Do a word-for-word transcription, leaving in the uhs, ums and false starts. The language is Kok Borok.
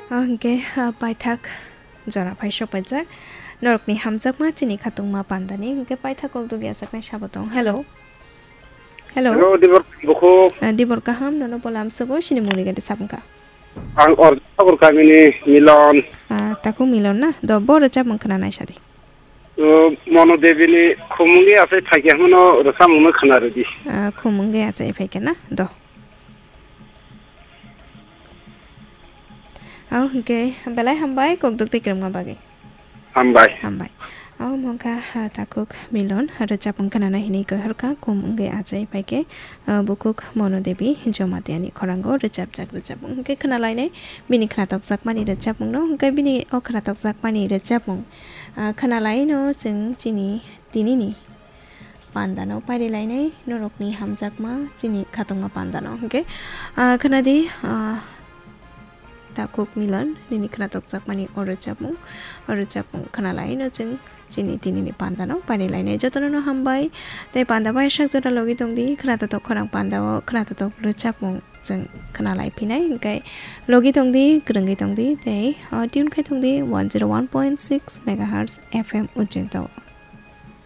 Ah, hwnkhe, ah, paithak jora phai sokpaijak. Norokni hamjakma chini khatungma pandani. Hwnkhe paithak kok dugya saknai sabo tong. Hello. Hello. Hello, Dibor Bukhuk. Ah, Dibor kaham, nono bolam sugo, sini muli gade sabungkha. Ang Orjasabur kamini Milon. Ah, taku Milon na? Do, bo rwchapmung khwnanai sadi. Uh, Mono Devi ni Khumungwi Achai Phaikhe hwnmano rwchapmungno khwna rwdi. Ah, Khumungwi Achai Phaikhe na? Do. Au hwnkhe belai hambai kok duk tei kwrwngma bagwi. Hambai. Hambai. Au mangkha, ah, takhuk Milon rwchapmung khwnana hinwi koi horkha Khumungwi Achai Phaikhe, ah, bukhuk Mono Devi Jomatiani khorango rwchapjak rwchapmung hwnkhe khwnalainai bini khwnatokjakmani rwchapmungno hwnkhe bini o khwnatokjakmani rwchapmung, ah, khwnalaino chwng chini tinini pandano pairilainai norokni hamjakma chini khatungma pandano. Hwnkhe, ah, khwnadi, ah, takhuk Milon nini khwnatokjakmani o rwchapmung, o rwchapmung khwnalaino chwng chini tinini pandano pairilainai. Jotono no hambai tei panda bai sak jora logi tongdi, khwnatotok khorang pandao khwnatotok rwchapmung chwng khwnalai phinai. Hwnkhe logi tongdi, kwrwngwi tongdi tei, ah, tune khai tongdi one zero one point six megahertz F M Ujjinto.